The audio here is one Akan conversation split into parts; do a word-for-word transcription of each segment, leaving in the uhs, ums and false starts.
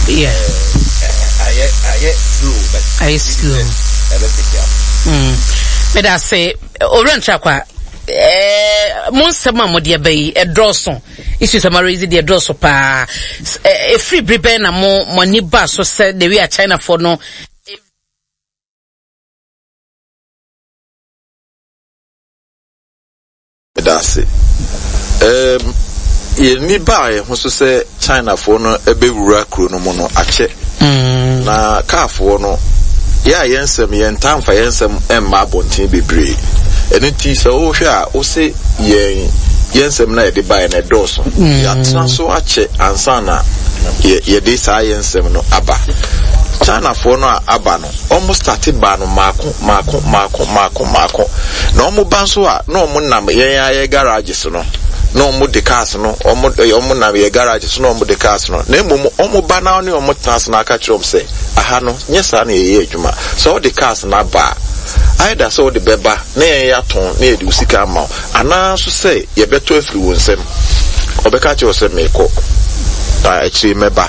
Yeah. Ayɛ ayɛ slow, but ayɛ slow. Ɛbɛ pick up. Mm. Meda ase, Owura Ntrakwa. Eh, mo nsɛm a mode aba yi ɛdɔɔso, issues a moaraise deɛ ɛdɔɔso paa. Ɛfiri bere bɛn na mo mo ani ba so sɛ the way a Chinafoɔ no Meda ase. Um, yɛn baa yɛn ho so sɛ Chinafoɔ no bɛwura kuro no mu no akyɛ. Mm. Na kaafoɔ no, yɛ a yɛn nsɛm, yɛn ntaa mfa yɛn nsɛm mma abɔnten bebree. Ɛno nti sɛ wohwɛ a, wose yɛn yɛn nsɛm no a yɛde baeɛ no ɛdɔɔso. Mm. Yɛatena so akyɛ ansa na yɛde saa yɛn nsɛm no aba. Chinafoɔ no a aba no, wɔn starte baa no maako maako maako maako maako. Na wɔn ba nso a, na wɔn nam yɛn ayɛ garages no, na wɔn de cars no, wɔn wɔn nam yɛ garages na wɔn de cars no. Na mmom wɔn ba na ne wɔn tena ase na aka kyerɛ wɔn sɛ, aha no nyɛ saa na yɛyɛ adwuma. Sɛ wɔde cars no aba a, either sɛ wɔde bɛba na yɛn yɛatɔn na yɛde wo sika ama wo, anaa nso sɛ yɛbɛtɔ afiri wo nsam. Ɔbɛka kyerɛ wo sɛ meekɔ, na akyire mɛba.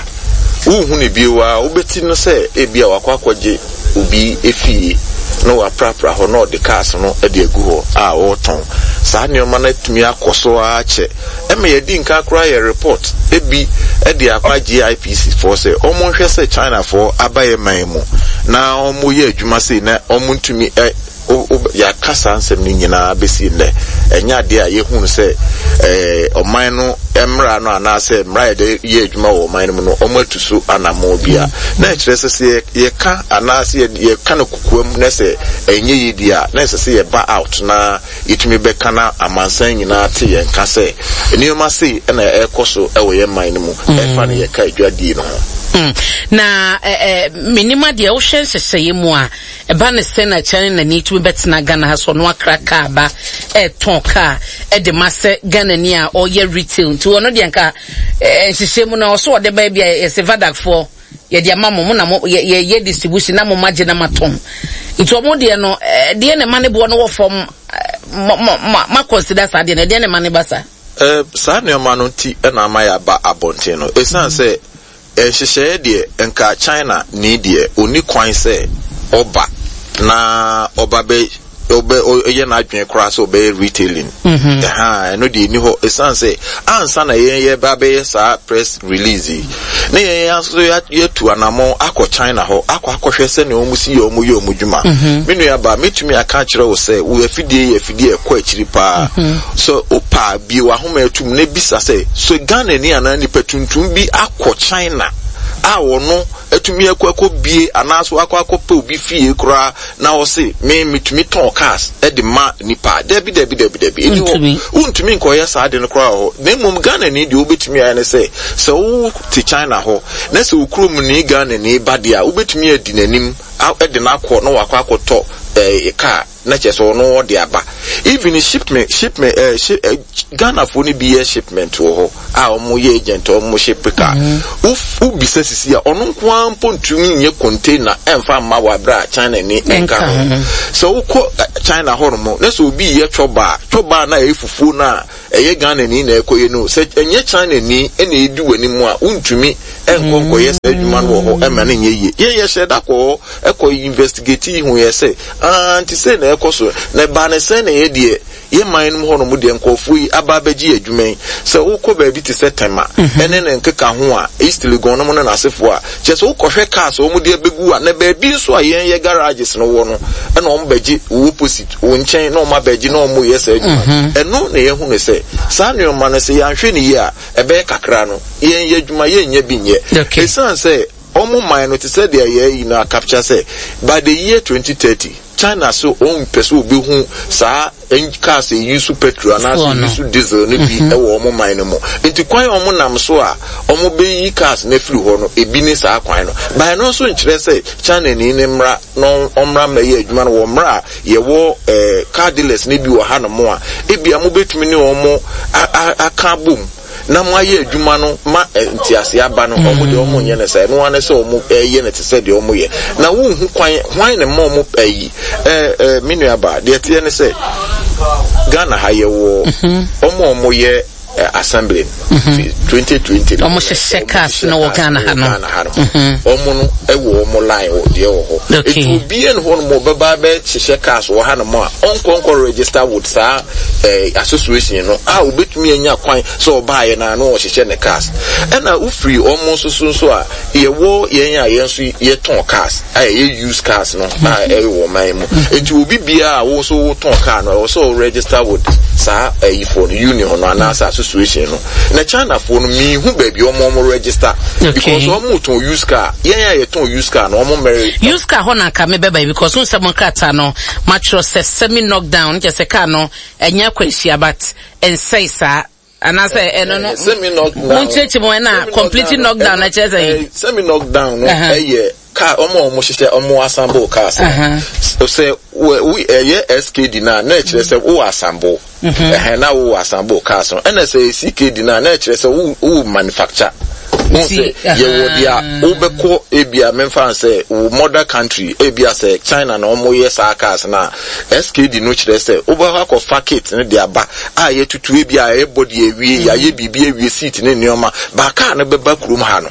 Wonhu no bio a, wobɛti no sɛ ebia wakɔ akɔgye obi efie na waprapra hɔ na ɔde cars no de agu hɔ a ɔretɔn. Saa nneɛma no atumi akɔ so ara kyɛ. Ɛma yɛdi nka koraa yɛ report ebi de akɔ G I P C foɔ sɛ wɔn nhwɛ sɛ Chinafoɔ aba yɛ man mu na wɔn yɛ adwuma sei na wɔn ntumi ɛ yɛaka saa nsɛm no nyinaa bɛsi nnɛ, ɛnyɛ adeɛ a yɛhunu sɛ ɛɛ ɔman no mmara no anaasɛ mmara yɛde yɛ adwuma wɔ ɔman no mu no, wɔn atu so anammɔn bi a na ɛkyerɛ sɛ sɛ yɛka anaasɛ yɛka no kokoam na sɛ ɛnyɛ yie di a, na ɛsɛ sɛ yɛba out na yɛtumi bɛka na amansan nyinaa te yɛn ka sɛ nneɛma sei ɛna ɛrekɔ so ɛwɔ yɛn man no mu, ɛfa no yɛka adwadie no ho. Mm. Na eh, eh, menim adeɛ wohwɛ nhyehyɛeɛ mu a ɛba ne sɛ na China ni tumi bɛtena Ghana ha so ɔno akra kaa ba ɛɛtɔn kaa ɛde ma sɛ Ghana ni a ɔyɛ retail, nti ɔno deɛ nka eh, nhyehyɛ mu no ɔso ɔde ba bi a yɛsɛ VADACfoɔ yɛde ama mo, mo na mo yɛ yɛ distribution na mo ma gye na ma tɔn, nti ɔmo deɛ no ɛɛ deɛ na ɛma ne boɔ no wɔ fam, mo mo ma consider saa deɛ no, deɛ na ɛma ne ba saa? Ɛɛ saa nneɛma no nti ɛna ama yɛaba abɔnten no, esan sɛ nhyehyɛeɛ deɛ nka China ni deɛ oni kwan sɛ ɔba na ɔba bɛ ɔbɛ ɔyɛ n'adwene koraa sɛ ɔbɛyɛ retailing. Ɛha ɛno deɛ ɛni hɔ, ɛsiane sɛ ansa na yɛn yɛ ba bɛyɛ saa press release yi na yɛn yɛn nso yɛtu anammɔn akɔ China hɔ akɔ akɔhwɛ sɛnea wɔn si yɛ wɔn yɛ wɔn dwuma. Me nua ba, metumi aka akyerɛ wo sɛ wo afidie yɛ afidie ɛkɔ akyiri paa so wopa bie w'ahoma atum na bisa sɛ so Ghana ni anaa nipa tuntum bi akɔ China a wɔno atumi akɔ akɔ bie anaasɛ akɔ akɔpɛ obi fie koraa na ɔse me metumi tɔn cars ɛde ma nipa? Dabi, dabi, dabi, dabi, ɛni hɔ. Wontumi nkɔyɛ saa de no koraa wɔ hɔ. Na mmom Ghana ni deɛ wobɛtumi ayɛ ne sɛ sɛ wote China hɔ na sɛ wo kurom ni Ghana ni ba deɛ a, wobɛtumi adi n'anim ɛde no akɔ na wakɔ akɔtɔ ɛɛ car na kyerɛ sɛ ɔno ɔde aba. Even shipment shipment ɛɛ shi ɛ Ghanafoɔ no bi yɛ shipment wɔ hɔ a wɔn yɛ agent a wɔn ship car. Wobisa sisi a, ɔno nko ara mpo ntumi nyɛ container ɛnfa mma wɔ abere a China ni nka ho. Sɛ wokɔ China hɔ nom na sɛ obi yɛ chɔba chɔba na ɛyɛ fufuo no a ɛyɛ Ghana ni na ɛkɔyɛ no, sɛ ɛnyɛ China ni ɛna edi wɔ anim a, wontumi ɛnkɔ nkɔyɛ saa adwuma no wɔ hɔ ɛma no nyɛ yie. Yɛn yɛhyɛ da kɔ hɔ ɛkɔ investigate yi hu yɛ sɛ aa nti sɛ na ɛkɔ so na ɛbaa ne sɛn na yɛ deɛ yɛ man no mu hɔ nom deɛ nkɔɔfoɔ yi aba abɛgye adwuma yi. Sɛ wokɔ baabi te sɛ Tema ɛne ne nkeka ho a, East Legon nom ne n'asefoɔ a, kyerɛ sɛ wokɔhwɛ cars a wɔn de abɛgu a, na baabi nso a yɛn yɛ garages no wɔ no, ɛna wɔn bɛgye wo opposite wo nkyɛn na wɔn abɛgye na wɔn yɛ saa adwuma ɛno. Na yɛhu no sɛ saa nneɛma no, sɛ yɛanhwɛ ne yie a, ɛbɛyɛ kakra no yɛn yɛ adwuma yɛnyɛ bi nyɛ, ɛsiane sɛ wɔn man no te sɛ deɛ yɛ yi no acapture sɛ by the year twenty thirty China so wɔn mpɛ sɛ obehu saa cars eyi so petrol anaasɛ eyi so diesel no bi ɛwɔ wɔn man no mu. Nti kwan a wɔn nam so a wɔn bɛyi cars no afiri hɔ no, ebi ne saa kwan no. Ban no nso nkyerɛ sɛ China ni ne mmra na ɔmmra mmɛyɛ adwuma no wɔ mmra a yɛwɔ ɛɛ car dealers no bi wɔ hanom a ebi a mobɛtumi ne wɔn aka abom na mo ayɛ adwuma no ma ntease aba no. Ɔmo deɛ, ɔmo nyɛ no sɛ ɛno ara sɛ ɔmo ɛyɛ no te sɛ deɛ ɔmo yɛ na wonhu kwan hwan ne ma ɔmo ɛyi. ɛɛ ɛɛ me nua ba, deɛ teɛ ne sɛ Ghana ha yɛwɔ ɔmo a ɔmo yɛ uh, assembling twenty twenty. Ɔmo hyehyɛ cars no wɔ Ghana ha no. Ghana ha no. Ɔmo no ɛwɔ ɔmo line wɔ deɛ wɔ hɔ. Okay. Eti obiara ne hɔ nom ɔbɛba bɛ hyehyɛ cars wɔ ha nom a ɔnkɔ nkɔ register with saa ɛɛ association no a obetumi anya kwan sɛ ɔbaayɛ na ano ɔhyehyɛ ne cars. Ɛna ofiri ɔmo nso so nso a yɛwɔ yɛn a yɛn nso yɛtɔn cars a yɛyɛ used cars no a ɛwɔ ɔman mu. Eti obi biara a wo nso wotɔn car no ɛwɔ sɛ o register with saa ɛyifoɔ no union no anaasɛ association no. Na Chinafoɔ no miihu baabi ɔmo ɔmo register Okay. because ɔmo tɔn used car, yɛn a yɛtɔn used car no, ɔmo mɛri. Used car hɔ na nka mebɛba yi, because n sɛ mo nkrataa no matwerɛ sɛ semi knockdown, kyɛ sɛ car no ɛnyɛ akwanhyia but ɛnsɛe saa, anaasɛ ɛno no semi knockdown monkyerɛkyerɛ mu, ɛna completely knockdown na kyerɛ sɛ semi knockdown no Uh-huh. ɛyɛ car ɔmo a ɔmo hyehyɛ, ɔmo assemble cars no. Uh-huh. Sɛ wɔ wo ɛyɛ S K D na na ɛkyerɛ sɛ wo assemble ɛhɛn na wo assemble cars no, ɛna sɛ C K D na na ɛkyerɛ sɛ wo wo manufacture wọn Nti, sɛ yɛwɔ deɛ aha. wobɛkɔ ebia memfa sɛ wo mother country, ebia sɛ China na ɔmo yɛ saa cars na S K D no kyerɛ sɛ wobɛkɔ akɔfa kit no de aba a yɛtutu, ebia yɛyɛ body awie, yɛayɛ biribi awie, seat ne nneɛma ba, car no bɛba kurom ha no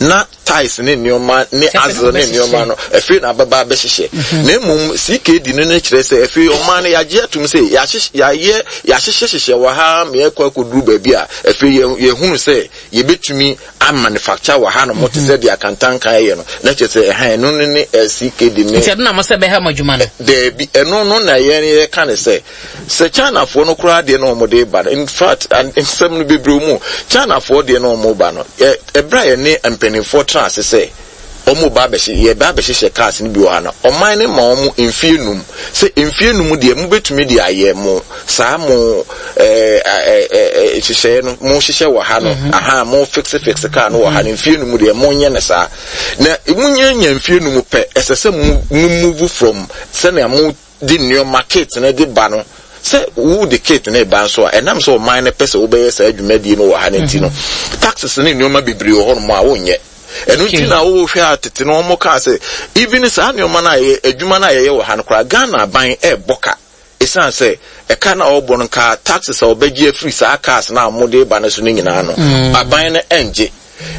na tyres ne nneɛma ne Kyerɛ sɛ axle ne wobɛhyehyɛ. nneɛma no afei na abɛba abɛhyehyɛ. Na mmom C K D no no kyerɛ sɛ afei ɔman no yɛagye atom sɛ yɛahyehyɛ yɛayɛ yɛahyehyɛhyehyɛ wɔ ha ma yɛkɔ akɔduru baabi a afei yɛ- yɛhunu sɛ yɛbɛtumi amanufacture wɔ ha no mo te sɛ deɛ akantankan yɛ no, na kyerɛ sɛ ɛhan ɛno no ne eh, C K D ne. Nti ɛno na mo sɛ bɛha mo adwuma no? Daabi, ɛno no na yɛn yɛka ne sɛ sɛ Chinafoɔ no koraa deɛ na wɔn de ba no, in fact, an- nsɛm no bebree mu, Chinafoɔ deɛ na wɔn ba no, ɛ ɛbrɛ a yɛne mpanimfoɔ tena ase sɛ wɔn ba abɛhye yɛba abɛhyehyɛ cars no bi wɔ ha no, ɔman no ma wɔn mfie num sɛ mfie num deɛ mo bɛtumi de ayɛ mo saa mo ɛɛ ɛɛ ɛɛ hyehyɛɛ no mo hyehyɛ wɔ ha no, aha mo fix fix car no wɔ ha no, mfie num deɛ mo nyɛ ne saa. Na mo nyɛ nya mfie num pɛ, ɛsɛ sɛ mo mo move from sɛnea mo de nneɛma kit no de ba no, sɛ wo de kit no ba nso a, ɛnam sɛ ɔman no pɛ sɛ wobɛyɛ saa dwumadie no wɔ ha no nti no, taxes ne nneɛma bebree wɔ hɔnom a wonyɛ ɛno nti na wohwɛ a tete no wɔn kaa sɛ even saa nneɛma no a yɛ adwuma no a yɛyɛ wɔ ha no koraa, Ghana aban ɛɛbɔ ka, ɛsiane sɛ ɛka no a ɔbɔ no nka taxes a ɔbɛgye afiri saa cars no a wɔde ba no so no nyinaa no, aban no ɛngye.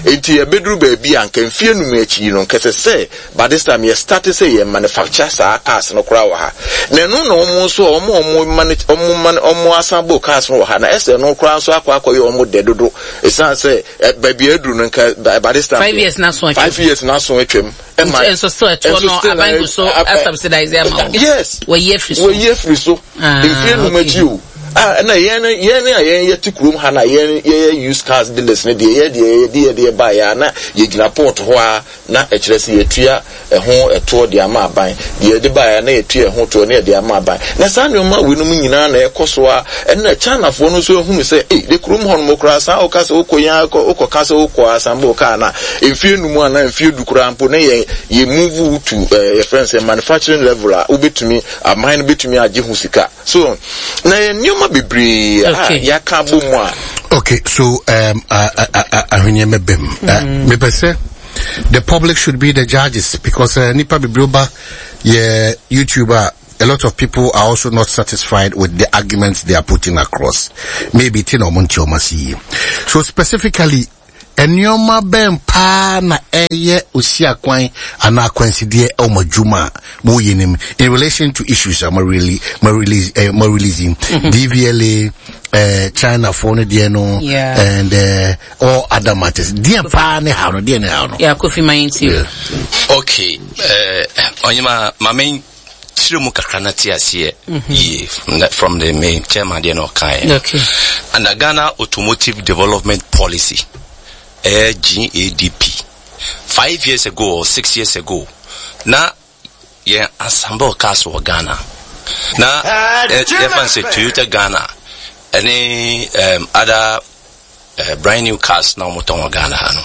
Nti yɛbɛduru baabi a nka mfie num akyi no nkɛsɛ sɛ by this time yɛ start sɛ yɛ manufacture saa cars no koraa wɔ ha. Na ɛno na wɔn nso a wɔn a wɔn mani wɔn mani wɔn assemble cars no wɔ ha na ɛsɛ no koraa nso akɔ akɔyɛ wɔn dɛ dodo, ɛsiane sɛ ɛ baabi aduru no nka by this time Five years na so atwam. Five years na so atwam. Nti nso still ɛtoɔ no aban gu so asubsidize ama wɔn? Yes. Wɔyi afiri so? Wɔyi afiri so. Ah, mfie num okay. akyi o, ah, ɛna yɛn yɛn a yɛn yɛte kurom ha na yɛn yɛyɛ used cars dealers ne deɛ yɛ deɛ yɛde yɛde yɛ ba yɛ a na yɛgyina port hɔ a na ɛkyerɛ sɛ yɛtua ɛho ɛtoɔ de ama aban, deɛ yɛde ba yɛ na yɛtua ɛho toɔ ne yɛde ama aban. Na saa nneɛma weinom nyinaa na ɛkɔ so a ɛna Chinafoɔ no nso ehunu sɛ ee de kurom hɔ nom koraa saa ɔka sɛ wokɔ yɛn akɔ wokɔ ka sɛ wokɔ assemble car na mfie num anaa mfie du koraa mpo ne yɛ yɛ move to ɛɛ yɛfrɛ no sɛ manufacturing level a wobɛtumi aman no bɛtumi agye ho sika so na yɛ nneɛma bebree a Okay. yɛaka abɔ mu a. Okay, so um, uh, uh, uh, ahweneɛ mɛbɛm. Mepɛ sɛ the public should be the judges because uh, nipa bebree ba yɛ YouTube a, a lot of people are also not satisfied with the arguments they are putting across. Maybe ti na ɔmo nte ɔmo ase yie. So specifically, nneɛma bɛn paa na ɛyɛ osi akwan anaa akwansideɛ ɛwɔ mo adwuma a moyɛ nim in relation to issues a mo really mo release eh, mo releasing D V L A, eh, China foɔ no deɛ no Yeah. and uh, all other matters? Deɛ paa ne ha no, deɛ ne ha no? Yeah, Kofi, ma yɛntie. Yeah. Okay, uh, ɔnyema ma me kyerɛ mu kakra na te aseɛ yie from the, from the main chairman deɛ na ɔkaeɛ. Okay. Under Ghana Automotive Development Policy, ɛyɛ G A D P, five years ago or six years ago na yɛn assemble cars wɔ Ghana na ɛ- yɛfa no sɛ Toyota Ghana ɛne um, other uh, brand new cars na wɔn tɔn wɔ Ghana ha no,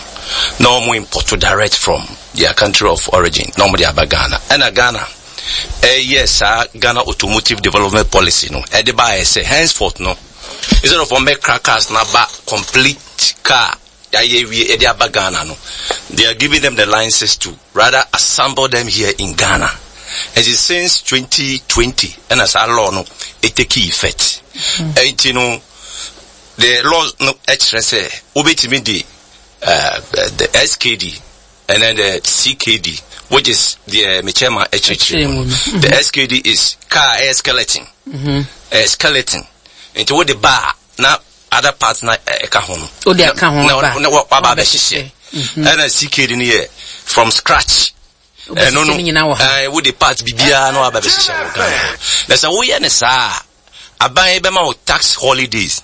na wɔn import direct from their country of origin na wɔn de aba Ghana. Ɛna Ghana ɛyɛ saa Ghana Automotive Development Policy no ɛde ba ayɛ sɛ henceforth no, instead of wɔn bɛkra cars na ba complete car yɛayɛ wie ɛde aba Ghana no, they are giving them the licenses to rather assemble them here in Ghana. Ɛnti since twenty twenty ɛna saa law no ɛtake effect. Ɛnti no The law no ɛkyerɛ sɛ wobɛtumi de uh, the S K D and then the C K D, which is the uh, chairman ɛkyerɛkyerɛ mu. The S K D is car ɛyɛ skeleton. Mm-hmm. Skeleton. Nti wode ba a, na other parts na ɛka ho no. Wode aka ho aba. Na waba abɛhyehyɛ. Ɛna C K D no yɛ from scratch. Ɛno no ɛɛ wode part bibiara na waba abɛhyehyɛ wɔ Ghana. Na sɛ woyɛ ne saa, aban bɛma wo tax holidays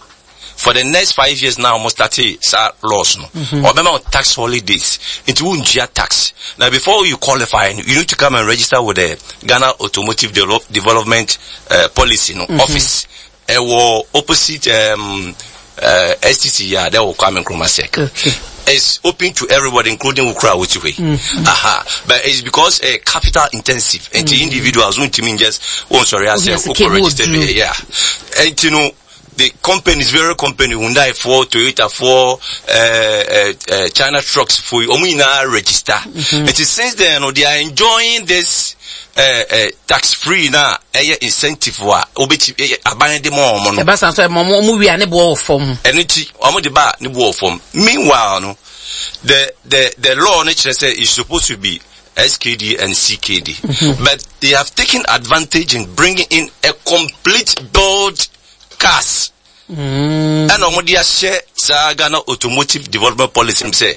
for the next five years now. Almost start saa laws no, ɔbɛma wo tax holidays, nti wontua tax. Now, before you qualify, you need to come and register with the Ghana Automotive Develop, Development uh, Policy no mm -hmm. office. Ɛwɔ opposite um, uh, S T C ya there wɔ Kwame Nkrumah Circle. Okay. It's open to everybody, including Ukra Wotiwe. Mm. Aha. But it's because uh, capital intensive. And mm. individuals won't mean just, oh, sorry, I say, okay, register. Yeah. And you know, the companies, very company, Hyundai foɔ, Toyota foɔ, uh, uh, uh, China trucks foɔ, ɔmo nyinaa register. Mm-hmm. It is since then, no, they are enjoying this uh, uh, tax free na ɛyɛ incentive a obeti aban de ma ɔmo no. Ɛba san so ɛma ɔmo ɔmo wia ne boɔ wɔ fam. Ɛno ti ɔmo de ba ne boɔ wɔ fam. Meanwhile no, the the the law no kyerɛ sɛ it's supposed to be S K D and C K D, mm-hmm. but they have taken advantage in bringing in a complete build cars. Ɛna ɔmo de ahyɛ saa Ghana Automotive Development Policy sɛ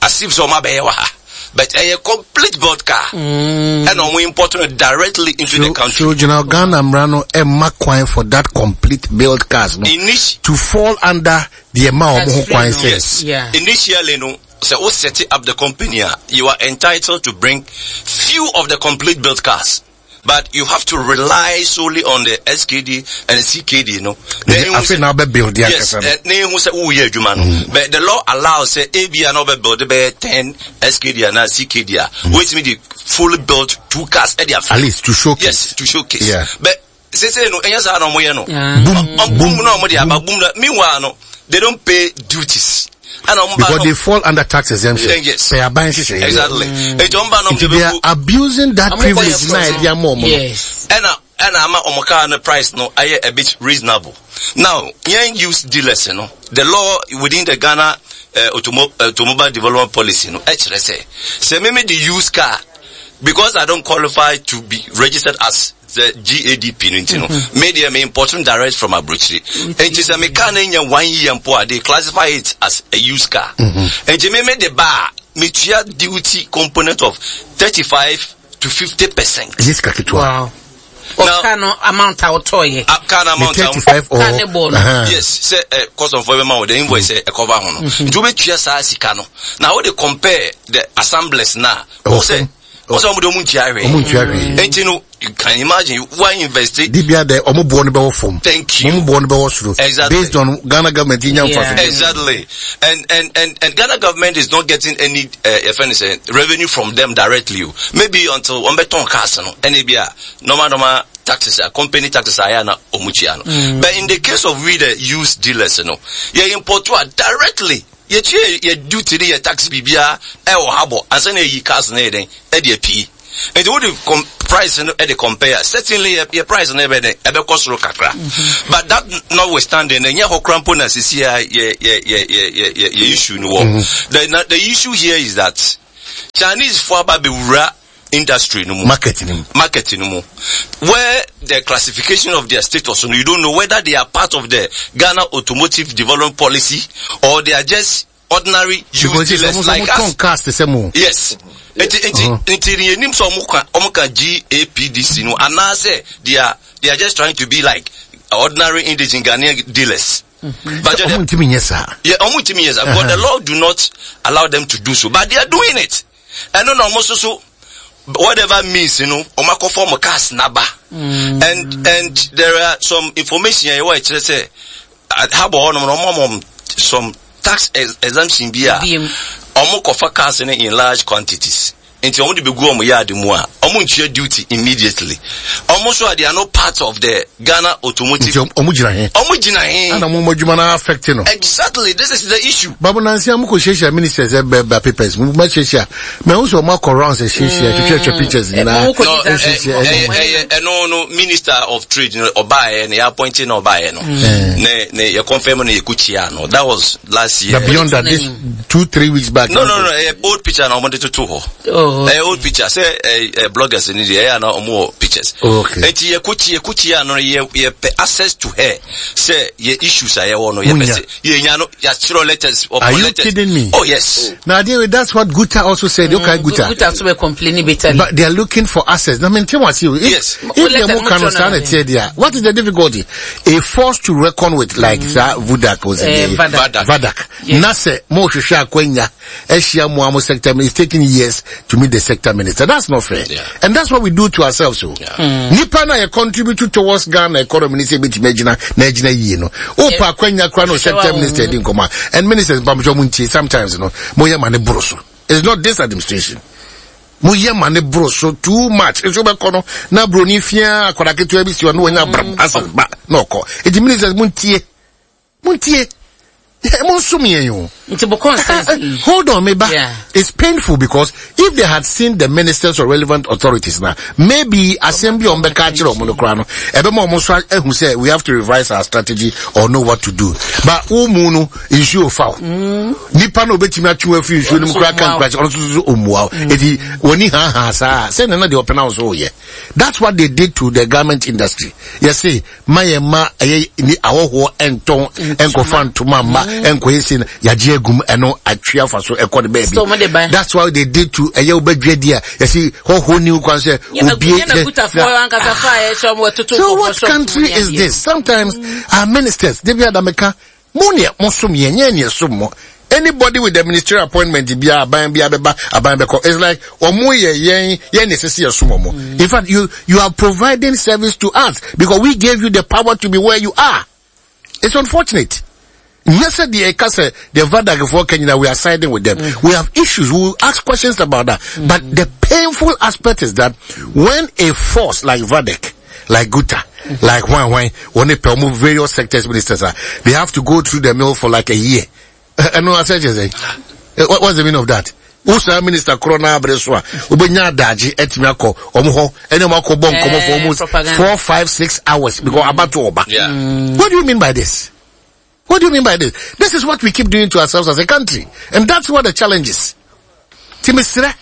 as if sɛ ɔmo abɛyɛ wɔ ha, but ɛyɛ complete built car ɛna ɔmo import no directly into so, the country. So General, Ghana mmara no ɛma kwan for that complete built cars no Initi to fall under the ɛma ɔmo ho kwan sɛ. Yes. Yeah. Initially no, sɛ o set up the company a, you are entitled to bring few of the complete built cars. But you have to rely solely on the S K D and the C K D, no. Afei na wobɛ build Yes, na ehu sɛ woyɛ adwuma no. But the law allows sɛ ebi a na wobɛ build bɛyɛ ten S K D and C K D a, wetumi de fully built two cars ɛde afa. At least to showcase. Yes, to showcase. Yeah. But sese no, ɛnyɛ saa na ɔmo yɛ no. Boom, boom na ɔmo de aba, boom na meanwhile no, they don't pay duties. And because they fall under tax exemption. Yes. Pɛ aban hyehyɛ. Exactly. Eti ɔmo ba na ɔmo de they are abusing that privilege na ɛdi ama ɔmo no. Yes. Ɛna ɛna ama ɔmo car no price no ayɛ a bit reasonable. Now, yɛn used dealers no, the law within the Ghana uh, automo automobile development policy no ɛkyerɛ sɛ sɛ mímí de used car, because I don't qualify to be registered as the G A D P no nti no, me deɛ me import no direct from aburokyire, nti sɛ me car no nya one year mpo a, they classify it as a used car. Nti me me de ba a, me tua duty component of thirty five to fifty percent. Ɛnyɛ sika ketewa. Wow. Of car no amount a wotɔɔyɛ. Car no amount a thirty five or Car ne bɔ no. Uh-huh. Yes, sɛ ɛ custom fo bɛma wo the invoice sɛ ɛkɔba ho no, nti wobɛtua saa sika no. Na wode compare the assemblers na Ɛwɔ wo sɛ fam. wo sɛ ɔmo de ɔmo ntua hwee. Ɔmo ntua hwee. Nti no, you can imagine why invest it. Dibia dɛ ɔmo boɔ no bɛwɔ fam. Thank you. Ɔmo boɔ no bɛwɔ soro. Exactly. Based on Ghana government yi nya nfa so. Exactly. And and and and Ghana government is not getting any uh, if anything, revenue from them directly o. Maybe until wɔn bɛ tɔn cars no, ɛna ebi a normal normal taxes a company taxes a yɛ na ɔmo tua no. But in the case of we the used dealers no, yɛ import a directly, yɛtua yɛ duty ne yɛ tax biribiara ɛwɔ ha bɔ ansa na yɛyi cars no yɛ dɛn ɛde apii. Nti wode com price no ɛde compare, certainly yɛ yɛ price no ɛbɛ dɛn ɛbɛkɔ soro kakra. But that notwithstanding, ɛnyɛ hɔ kora mpo na sisi a yɛ yɛ yɛ yɛ yɛ yɛ yɛ issue no wɔ. The na the issue here is that Chinese fo aba abɛwura industry no mu. Market ni mu. Market no mu, where the classification of their status no, you don't know whether they are part of the Ghana Automotive Development Policy or they are just ordinary used Because dealers ɔmo like ɔmo tɔn us. cars te sɛ mo. Yes, nti nti nti ni enim sɛ ɔmo ka ɔmo ka G A P D C no anaasɛ they are they are just trying to be like ordinary indigent Ghanaian dealers. But Ɔmo ntumi nyɛ saa. Yeah, ɔmo ntumi nyɛ saa because the law do not allow them to do so, but they are doing it. Ɛno na ɔmo nso so whatever means you know ɔmo akɔfɔ ɔmo cars naba, and and there are some information a yɛwɔ ɛkyerɛ sɛ habɔ hɔnom no, ɔmo ɔmo some tax ex exemption bi a Biem. ɔmo kɔfa cars no in large quantities. Nti ɔmo de bɛgu ɔmo yard mu a, ɔmo ntua duty immediately. Ɔmo nso a, they are not part of the Ghana Automotive. Nti ɔmo gyina he? Ɔmo gyina he? Ana mo mo adwuma no affect no? Exactly, this is the issue. Babu nansi a mokɔ hyiahyia ministers ɛbɛba papers mo ma hyiahyia mɛ n sɛ ɔmo akɔ rounds ahyiahyia twitwatwa pictures nyinaa. No, ɛyɛ ɛyɛ ɛno no, Minister of Trade no ɔbaayɛ no, yɛ appoint na ɔbaayɛ no, ne ne yɛ confirm no, yɛ kɔ kyia no. That was last year. But beyond that, this two three weeks back. No no no ɛyɛ old picture na ɔmo de toto hɔ. Ɛyɛ old picture sɛ ɛɛ ɛ bloggers ni deɛ, ɛyɛ ana ɔmo wɔ pictures. Okay. Eti yɛ kɔ kyia, yɛ kɔ kyia no, yɛ yɛ pɛ access to her sɛ yɛ issues a yɛwɔ no, yɛ pɛ sɛ yɛ nya no, yɛakyerɛ letters. Are you letters. Kidding me? Oh yes. Now, dear, that's what Guta also said. Mm, okay, Guta. Guta also were complaining bitterly. But they are looking for access. Now, maintain what you. If, Yes. If they more can understand it, there, what is the difficulty? A force to reckon with, like mm. Sir Vudak was uh, Vadak. Vadak. Yes. Nase mo hwehwɛ akwanya ahyia mo amo sector minister. It's taking years to meet the sector minister. That's not fair. Yeah. And that's what we do to ourselves. So. Yeah. Mm. Nipa na yɛ contribute towards Ghana economy ni sɛ ebetumi agyina na agyina yie no. Opa akwanya kora no sector minister di nkɔmɔ. And ministers mpamokyɛ mo ntie, sometimes no mo yɛ ma ne boro so. It's not this administration. Mo yɛ ma ne boro so too much. Nso bɛkɔ no na broni fia akwadaa ketewa bi si hɔ na wɔnya abram asɛ ba na ɔkɔ. Eti ministers, mo ntie. Mo ntie. Mo nsom yɛn o. Nti bo consensus. Hold on, meba. Yeah. It's painful because if they had seen the ministers or relevant authorities now, maybe asɛm bi a ɔmbɛka akyerɛ ɔmo no koraa no, ɛbɛma ɔmo nso ahu sɛ we have to revise our strategy or know what to do. But wo mu no, nsuo fa wo. Nipa na obetumi atwe wo afiri nsuo no mu koraa ka nkura kyerɛ ɔno nso so ɔmmua wo. Eti wɔni ha ha saa sɛ nana deɛ ɔpɛ na wo so woyɛ. That's what they did to the garment industry. Yɛse ma yɛn ma ɛyɛ ni ahɔhoɔ ɛntɔn ɛnkɔfa ntoma mma ɛnkɔyɛ si no, yagye agum ɛno atwe afa so ɛkɔ ne So, mo de ba. baabi. That's why they did to ɛyɛ wobɛdwa di a yɛsi hɔhoɔ ni kwan sɛ obie. Yɛna Gutafoɔ ankasa fa a yɛhyɛ ɔmo ɛtoto. So what country is this? Sometimes our ministers, they be adameka, mo ne mo som yɛn, nyɛ ne som mo. Anybody with the ministerial appointment bia, aban bia bɛba, aban bɛkɔ. It's like ɔmo yɛ yɛn yɛn ne sisi yɛ som ɔmo. In fact, you you are providing service to us because we gave you the power to be where you are. It's unfortunate. Nyɛ sɛ deɛ ɛka sɛ the VADAC ka nyina, we are siding with them. We have issues. We will ask questions about that. But the painful aspect is that when a force like VADAC, like Guta, like Wan Wan, when they pɛ ɔmo various sectors ministers are, they have to go through the mill for like a year. Ɛno asɛ kyerɛ sɛ, what what's the meaning of that? Wosaa minister korɔ no abere so a wobɛnya adagye atumi akɔ ɔmo hɔ ɛne ɔmo akɔ bɔ nkɔmmɔ for almost propaganda. four five six hours because abato ɔba. Yeah. What do you mean by this? What do you mean by this? This is what we keep doing to ourselves as a country. And that's what the challenge is. Nti mesrɛ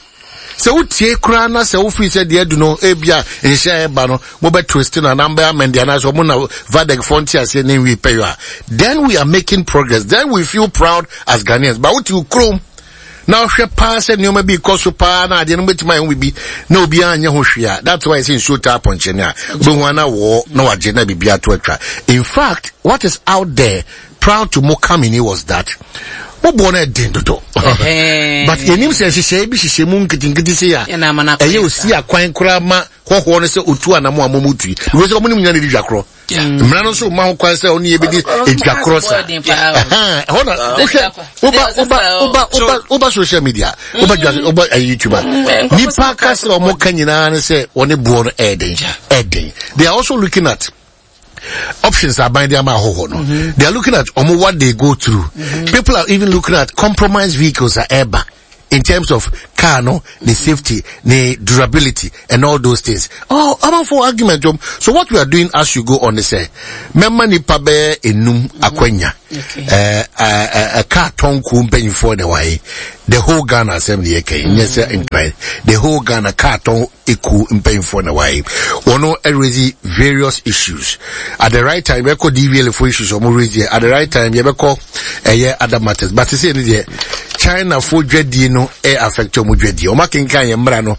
sɛ wotie koraa na sɛ wofiri sɛ deɛ adu no, ebia nhyɛ a ɛba no mobɛ twist no anaa mbɛ amend anaasɛ ɔmo na VADEC foɔ nte aseɛ ne nwie pɛyɔ a, then we are making progress. Then we feel proud as Ghanaians. But wote wo kurom na wohwɛ paa sɛ nneɛma bi kɔ so paa na adeɛ no bɛtumi ayɛ ho biribi na obiara nyɛ ho hwee a, that's why ɛsɛ nsuo taa pɔnkyɛne a wobɛhu ana wɔ na wagye na biribi ato atwa. In fact, what is out there prior to mo coming was that moboɔ no ɛden dodo, but yɛnim sɛ nhyehyɛeɛ bi hyehyɛ mu nketenkete sei a Ɛna ama no akɔyɛ. Ɛyɛ osi akwan koraa ma hɔhoɔ no sɛ otu anamo a momu tui because ɔmo ne mu nyina ne di dwa korɔ. Mmara no nso ma ho kwan sɛ ɔne yɛbɛdi edwa korɔ saa. Ɛden paa o. Ɛhɛn, ɛhɔ na wohwɛ woba woba woba woba woba social media, woba dwa, woba ɛyɛ YouTube a, nipa ka sɛ ɔmo ka nyinaa ne sɛ wɔne boɔ no ɛɛden ɛɛden. They are also looking at options aban de ama ahɔhoɔ no. They are looking at ɔmo what they go through. People are even looking at compromised vehicles a ɛɛba in terms of car no the safety, the durability and all those things. Oh, amanfo argument um. So what we are doing as you go on is sɛ mɛma nipa bɛyɛ enum akwanya. ɛɛ ɛɛ car tɔn kuo mpanyinfoɔ na wɔayɛ the whole Ghana asɛm ne yɛ kɛn nyɛ sɛ Nkran, the whole Ghana car tɔn ekuo mpanyinfoɔ na wɔayɛ. Wɔn raise various issues. At the right time yɛbɛkɔ D V L A for issues wɔn raise yɛ. At the right time yɛbɛkɔ ɛyɛ other matters, but sisi ne deɛ, China fo dwadie no ɛ affect wɔn dwadie. Wɔn akenkan yɛn mmara no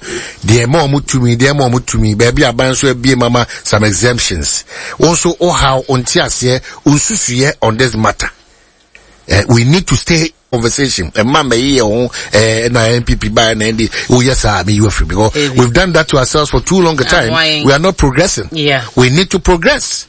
deɛ ɛma wɔn tumi, deɛ ɛma wɔn tumi baabi aban nso abie mama some exemptions. Wɔn nso ɔhaw ɔnte aseɛ nsusuyɛ on this matter. Uh, we need to stay conversation. Ɛma mɛyi yɛ ho ɛɛ na N P P ba na N D oh yes sir, me you free because Ebi. We've done that to ourselves for too long a time. Why? We are not progressing. Yeah. We need to progress.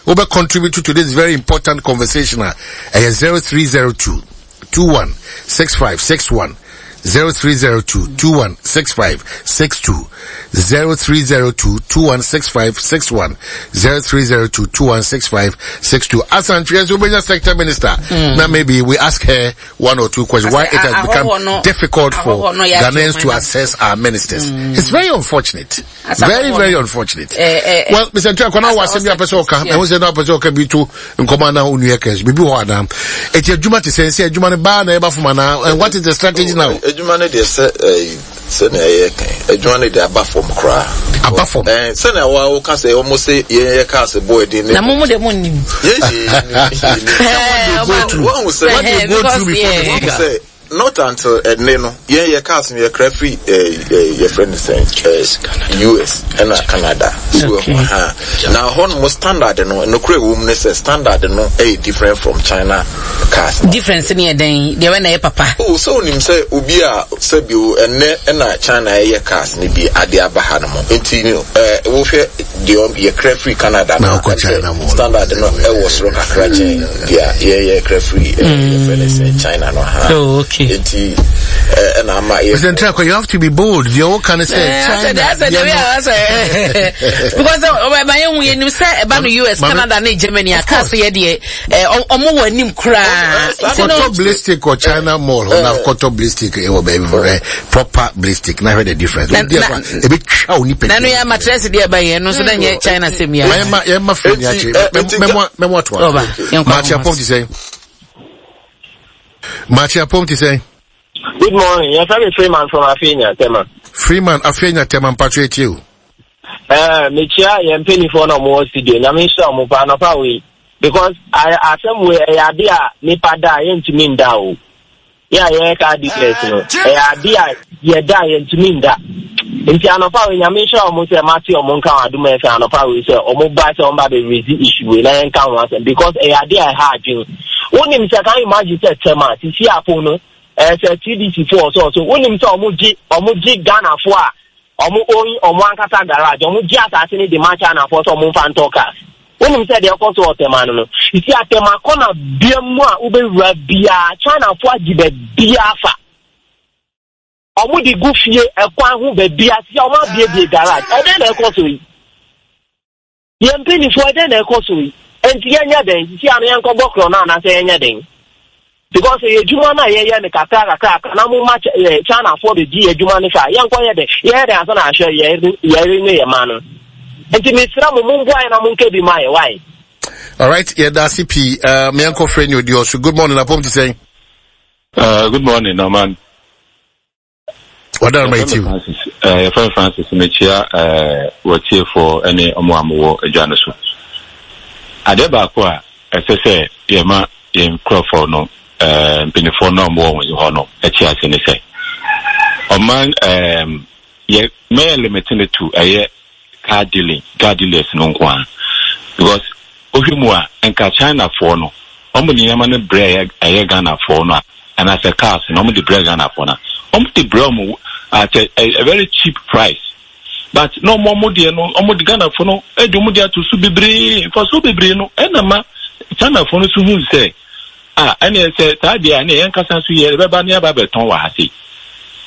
Wobɛ contribute to this very important conversation a ɛyɛ zero three zero two two one six five six one. zero three zero two two one six five six two zero three zero two two one six five six one zero three zero two two one six five six two. Asantwe Ubenya sector minister. Mm. Now maybe we ask her one or two questions why it has become difficult for Ghanaians to access our ministers. Mm. It's very unfortunate. Very, very unfortunate. Eh, eh, well, Mister Ntua, was send me a person ka, I was na person ka bi to nkoma na onu ekes. Bibi ho adam. Eti adwuma te sense adwuma ne ba na eba fuma na. And what is the strategy now? Adwuma ne de se eh se na ye kan. Adwuma ne de aba fom kra. Aba fom. Eh se na wa wo ka se omo se ye ye ka se boy din ne. Na mo mo de mo nim. Ye ye. What they go through before the say not until ene no ye ye cars ye kra free eh ye friend say U S and Canada. So ha na hon mo standard no no kra wo mu ne say standard no eh different from China cars. Difference ne den de we na ye papa. Oh so nim say obi a say bi o ene na China ye cars ne bi ade aba ha no mo enti eh wo hwe de ye kra free Canada na standard no e wo soro kakra chen dia ye ye kra free ye friend say China no ha. Oh okay. Enti eh na ama ye President Trako, you have to be bold. You all can say China. That's a because my own you say about the U S, Canada and Germany aka say de eh omo wani kra. Koto ballistic or China mall na koto ballistic e wo baby for proper ballistic. Na heard the difference. E be twa oni pe. Na no ya mattress de ba ye no so na nye China same ya. Ma ye ma friend ya chi. Memo memo to. Ma chi apom ti say. Machi apom ti say. Good morning. Yes, I'm Freeman from Afenya, Tema. Freeman, Afenya, Tema, Patrick, you. Eh, Mechia, I'm paying for no more studio. Na me show mo pa no pa we because I asem we e ade a nipa da yentumi nda o. Yeah, yeah, ka declare no. E ade a ye da yentumi nda. Nti anopa we nya me show mo say mati o mo nka adum e fa anopa we say o mo ba say o ba be raise issue we na nka ho asem because e ade a ha adwen. Wonim say can you imagine say Tema sisi apo no eh say T D C four so so wonim say omo gi omo gi Ghana fo a omo oyin omo ankasa garage omo gi asase ni de ma China fo so omo mfa nto cars wonim say de ekọ so Tema no no sisi atema kona bia mu a ubewura bia China fo agi be bia fa omo di gu fie ekwan ho be bia si omo abie bie garage e den na ekọ so yi ye mpini fo e den na ekọ so yi enti yenya den sisi anu yenko bokro na na say yenya den because ye juma na ye ye ne kakra kakra na mo ma China fo be di ye juma ne fa yenko ye de ye de asa na ahwe ye ye ne ye ma no enti mesra mo mo mboa na mo nke bi ma ye why. All right, yeah, that's C P uh me uncle friend you also. Good morning, apom to say. Uh good morning, Norman. What are my two? Uh friend Francis Mechia uh what here for any omo amowo adwa so. Ade baako a ɛsɛ sɛ yɛma yɛn nkurɔfoɔ no ɛɛ mpanyinfoɔ no a wɔwɔ wɔn hɔ no akyi ase ne sɛ ɔman ɛɛm yɛ mɛyɛ limit ne to ɛyɛ car dealing car dealers no nko ara because ohwɛ mu a nka Chinafoɔ no wɔn de nneɛma no brɛ ɛyɛ Ghanafoɔ no a anaasɛ cars no wɔn de brɛ Ghanafoɔ no a wɔn de brɛ wɔn at a, a very cheap price. But no more mo deɛ no ɔmo de Ghanafoɔ no ɛde ɔmo de ato so bebree nfa so bebree no ɛna ma Chinafoɔ no so hu sɛ a ɛna sɛ saa deɛ a ɛna yɛn kasa so yɛ ɛbɛba ne aba abɛtɔn wɔ ha se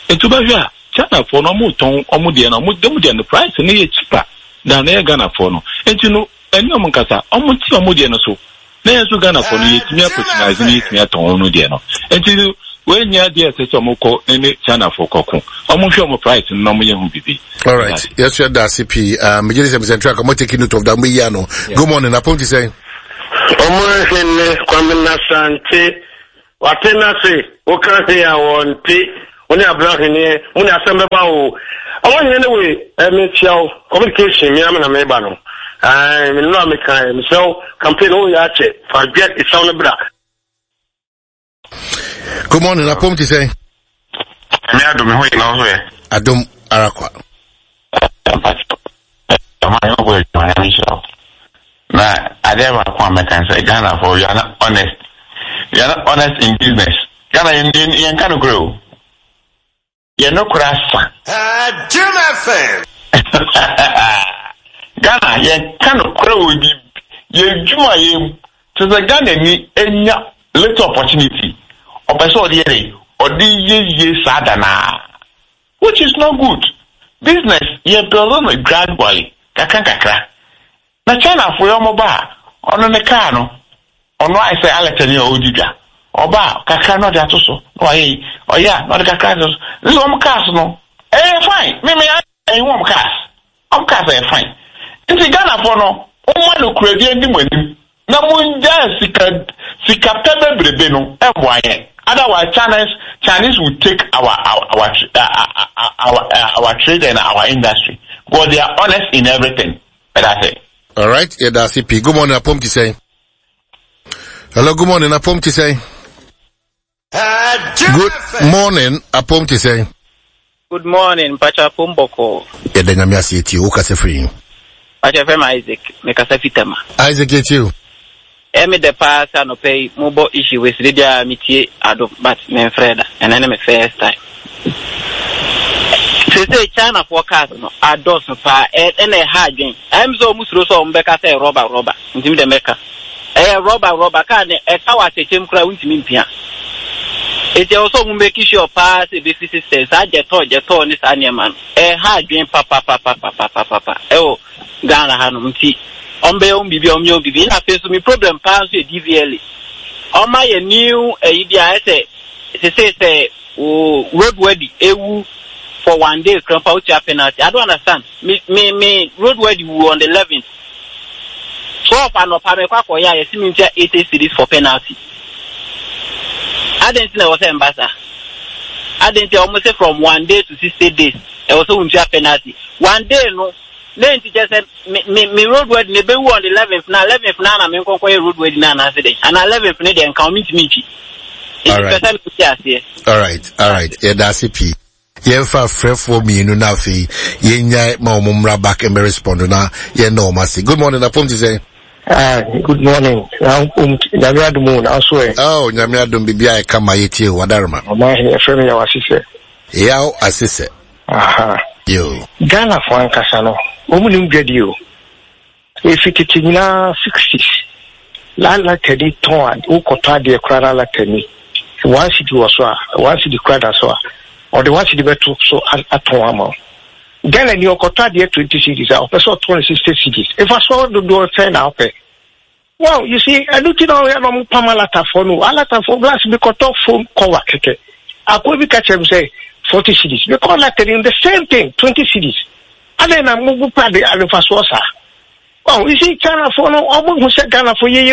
etu bɛhwɛ a Chinafoɔ no ɔmo tɔn ɔmo deɛ no ɔmo ɔmo deɛ no price no yɛ cheaper than ɛyɛ Ghanafoɔ no eti no ɛne ɔmo nkasa ɔmo ti ɔmo deɛ no so na yɛn nso Ghanafoɔ no yɛtumi apatronise no yɛtumi atɔn ɔmo deɛ no eti no when you are there, say some ko any China for koko. Omo hwe omo price no mo ye hu bibi. All right. Yes, you are C P. Um, me say track I'm taking note of that me ya no. Good morning. Apom ti say. Omo hene kwame na sante. Watena se o kan se ya wonte. Oni abra hene, mo ni asem ba o. Omo hene we e me chiao communication me am na me ba no. Ah, me no me kan me so campaign o ya che. Forget it sound bra. Good morning, Apom ti say. Me adom ho ina ho e. Adom arakwa. Na ade ba kwa me kan say Ghana for you are not honest. You are not honest in business. Ghana yen yen kan grow. Ye no krasa. Jim F M. Ghana yen kan grow bi ye dwuma ye to the Ghana ni enya little opportunity. Ọpẹsẹ ọdí yẹrẹ ɔde yɛ yie saa da naa, which is not good. Business yɛ build no gradually, kakra kakra. Na Chinafoɔ yɛ ɔmo ba a, ɔno ne kaa no, ɔno ayɛ sɛ alatani a ɔredi dwa. Ɔba a, kakra na ɔde ato so na wayɛ yi, ɔyɛ a na ɔde kakra ato so. Ne sɛ ɔmo cars no ɛyɛ fine. Mímí ɛyɛ wɔn cars, ɔmo cars ɛyɛ fine. Nti Ghanafoɔ no, wɔn no kuradie ndi mo anim na mo ngya sika sika pɛ bebrebe no ɛmmoa yɛn. Otherwise Chinese Chinese will take our our our uh, our, our, uh, our trade and our industry because they are honest in everything. That's it. All right, yɛda ase pii. Good morning, apom ti sɛn? Hello, good morning, apom ti sɛn? Good morning, apom ti sɛn? Good morning, Mpacha Pomboko. Yɛda Nyame ase. Yɛtie wo, kasa firi? Mpacha fɛ Isaac, mekasa fi Tema. Isaac, yɛtie o. Ɛmi dɛ paa sɛ anɔpɛ yi mobɔ issue wei sɛ biara metie Adom, but memfrɛ da. Ɛnɛ ne me first time. Sese Chinafoɔ cars no adɔɔso paa, ɛna ɛha adwen. Ɛm sɛ ɔmo suro sɛ ɔmo bɛka sɛ rɔba rɔba, ntumi dɛ mɛka. Ɛyɛ rɔba rɔba kaa ne ɛka wɔ atɛkyɛm koraa, wontumi mpia. Eti ɛwɔ sɛ ɔmo make sure paa sɛ ebefi system saa gyɛtɔɔ gyɛtɔɔ ne saa nneɛma no. Ɛha adwen papapapapapapa ɛwɔ Ghana hanom, nti ɔmo bɛyɛ wɔn biribi a, ɔmo yɛ wɔn biribi. Ɛna afei nso mi problem paa nso yɛ D V L A. Ɔmo ayɛ new ɛyi bi a ɛsɛ sese sɛ o road worthy ewu for one day krampa, wotua penalty. I don't understand. Me me me road worthy wu on the eleventh, twelve anɔpa mɛkɔ akɔyɛ a, yɛsi mi ntua eighty cedis for penalty. Adan ti na ɛwɔ sɛ mba saa? Adan ti a wɔn sɛ from one day to sixty days ɛwɔ sɛ wɔntua penalty one day no ne nti kyɛ sɛ me me me road worthy na ebewu on the eleventh, na eleventh na na me nkɔnkɔ yɛ road worthy na anaasɛ dɛ ana eleventh ne deɛ nka wɔn ntumi ntwi nti Alright. pɛ sɛ mi ti aseɛ. All right, all right, yɛda ase pii. Yɛmfa frɛfoɔ mmienu na afei yɛnyae ma wɔn mmra back and respond na yɛnna wɔn ase. Good morning, apom ti sɛn? Ah, good morning. Na um, Nyame adom o, na so ɛ? Oh, Nyame adom, biribi a ɛka ma yɛtie o, wadarema. Ɔma ahene ɛfrɛ me Yaw Asesɛ. Yaw Asesɛ. Aha. Yo. Ghanafoɔ ankasa no, wɔn nim dwadie o. Efi tete nyinaa, sixties. Lalakani tɔn a, wokɔtɔ adeɛ koraa na latani one cedi wɔ so a, one cedi koraa da so a, ɔde one cedi bɛto so a- atɔn ama wo. Ghana ni ɔkɔtɔ adeɛ twenty cedis a, ɔpɛ sɛ ɔtɔn no sixty cedis. Efa so dodoɔ sɛn na ɔpɛ? Well, you see, ɛno ti na ɔyɛ na ɔmo pam alatafoɔ no. Alatafoɔ glass bi kɔtɔ phone cover kɛkɛ. Akoa bi ka kyerɛ mi sɛ forty cedis. Because latani the same thing, twenty cedis. Adɛn na mo bu pa de adefasoɔ saa? Well, you see, Chinafoɔ no, ɔmo hu sɛ Ghanafoɔ yɛyɛ